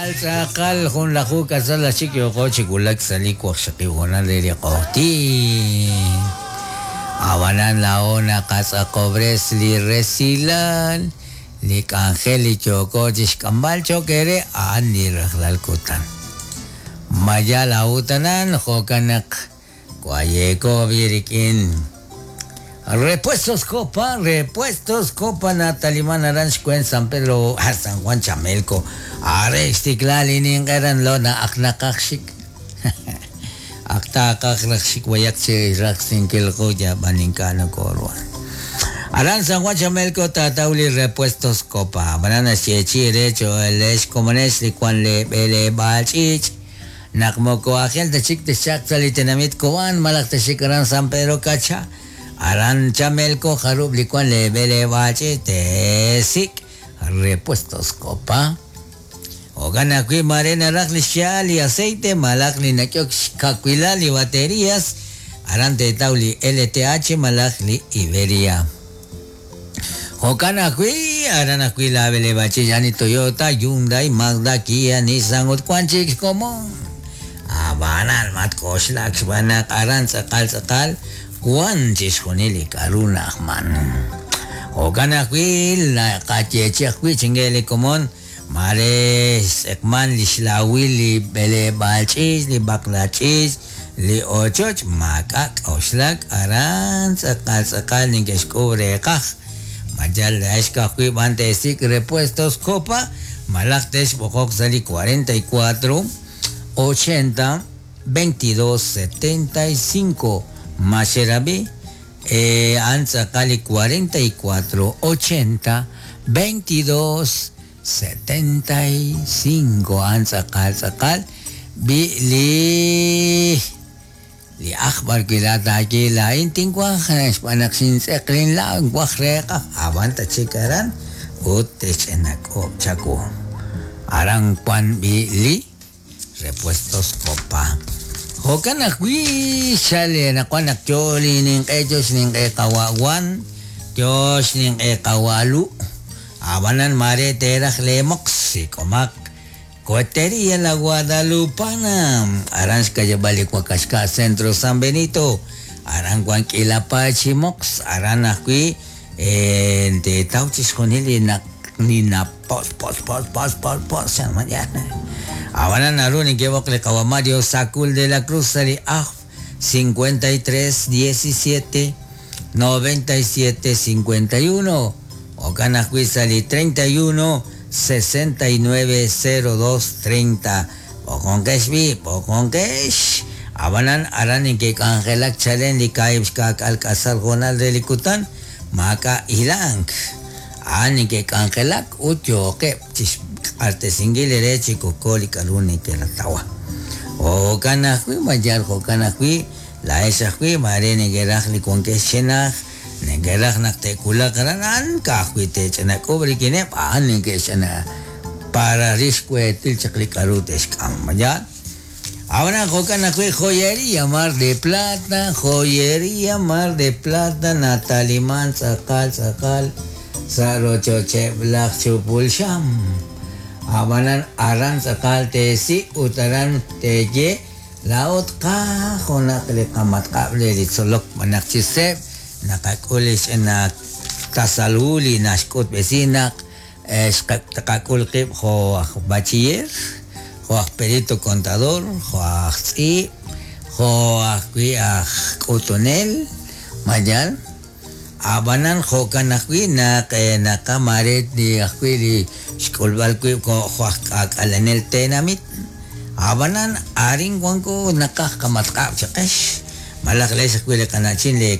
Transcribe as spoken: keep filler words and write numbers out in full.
Tz'aqal tz'aqal junlaju k'asal axik yooko chi wulak sa' li waqxaqib' hoonal re li q'oqtin. Ab'anan laa'o naqatz'aqob'res li resilal li k'anjel li yooko chixk'amb'al cho'q eere a'an li rajlal kutan. Ma yal a'utanan jo'kan naq wayeeko b'i rik'in Repuestos Copa, Repuestos Copa nataliman aran xkwen San Pedro, ah, San Juan Chamelco. Are xtikla li ninq'eran lo na ak naqaj xik. Ak taqaj raj xik wayak chi raqsinkil quya b'an ink'a' nokoruhan. Aran San Juan Chamelco tataw li Repuestos Copa. Ab'anan naxyeechi re cho'elex komonex li wan le b'eleb'aal ch'iich'. Naq moko ajel ta chik texchaq sa' li tenamit Cobán malaj texik aran San Pedro Cacha. Aran Chamelco jarub' li wan le b'eleb'aal ch'iich' tesik Repuestos Copa. Jo'kan ajwi' mare naraj li xya'al li aceite malaj li nak'ok xkawilal li baterías aran teetaw li L T H malaj li Iberia. Jo'kan ajwi' aran ajwi' la b'eleb'aal ch'iich' a'an li Toyota, Hyundai, Mazda, Kia, Nissan ut wan chik xkomon. Ab'anan matk'oxlak xb'aan naq aran tz'aqal tz'aqal wan chixjunil li k'aru na'ajman. Jo'kan ajwi' naqayeechi ajwi' chinge li komon mare xtz'eqman li xlawil li b'eleb'aal ch'iich', li b'aqla ch'iich', li ochoch maak'a' k'oxlak aran tz'aqal tz'aqal neke'xk'uub' reeqaj. Mayal laa'ex ka'ajwi' b'an teesik' Repuestos Copa malaj texb'oqoq sa' li cuarenta y cuatro ochenta veintidós setenta y cinco. Maxerabi eh, a'an tz'aqal li cuarenta y cuatro ochenta veintidós setenta y cinco a'an tz'aqal tz'aqal bi li li aj b'ar wi' laataye laa'in tinwaj xb'aan naq xintz'eq linla' nwaj reeqaj ab'an ta chik aran ut texch'inak'ob' chawu aran wan b'i li Repuestos Copa. Jo'kan ajwi' xale naqwan naq yo li ninq'e yo xninq'e qawa' Wan yo xninq'e qawa' Lu' ab'anan mare teeraj leemoq sik'omaq Cohetería La Guadalupana aran xkayab'al li Wakaxka' Centro San Benito aran wan k'iila paay chi moqs aran ajwi' eh, teetaw chixjunil li naq li napos pos pos pos pos pos ab'anan naru neke'b'oq li qawa' Mario Sacul de la Cruz sa' li aj cincuenta y tres diecisiete noventa y siete cincuenta y uno jo'kan ajwi' sa' li treinta y uno sesenta y nueve cero dos treinta b'oqonqex b'i b'oqonqex ab'anan aran neke'k'anjelak chalen li kaahib' xka'k'aal k'asal hoonal re li kutan maak'a' hilank a'an neke'k'anjelak ut yooqeb' chixq'axtesinkil ere chi koko li k'aru neke'ratawa. Jo'kan ajwi' mayal jo'kan ajwi' laa'ex ajwi' mare neke'raj li wankex chenaj neke'raj naq te'wulaq aran a'an ka'ajwi' te'ch'inak'ub' rik'ineb' a'an neke'xch'ina para rix xweetil chaq li k'aru te'xk'am mayal. Ahora jo'kan ajwi' Joyería Mar de Plata, Joyería Mar de Plata nataliman tz'aqal tz'aqal sa' rochocheb' laj chupul xam. Ab'anan aran tz'aqal teesik' ut aran teeye laa'ut qaj junaq li qamatq'ab' re li tzolok b'anaq chi seeb' naqak'ul li ch'ina tasalhu li naxk'utb'esi naq eh, xqak'ul qib' jo' aj bachiller, jo' aj perito contador, jo' aj tz'iib', jo' ajwi' aj k'utunel, mayal. Ab'anan jo'kan ajwi' naq eh, naqamare li ajwi' li xk'ulb'al wib' jo' jo' aj k'aak'alenel tenamit. Ab'anan arin wanko naqaj qamatq'ab' chaqex malaj leex ajwi' li qana'chin le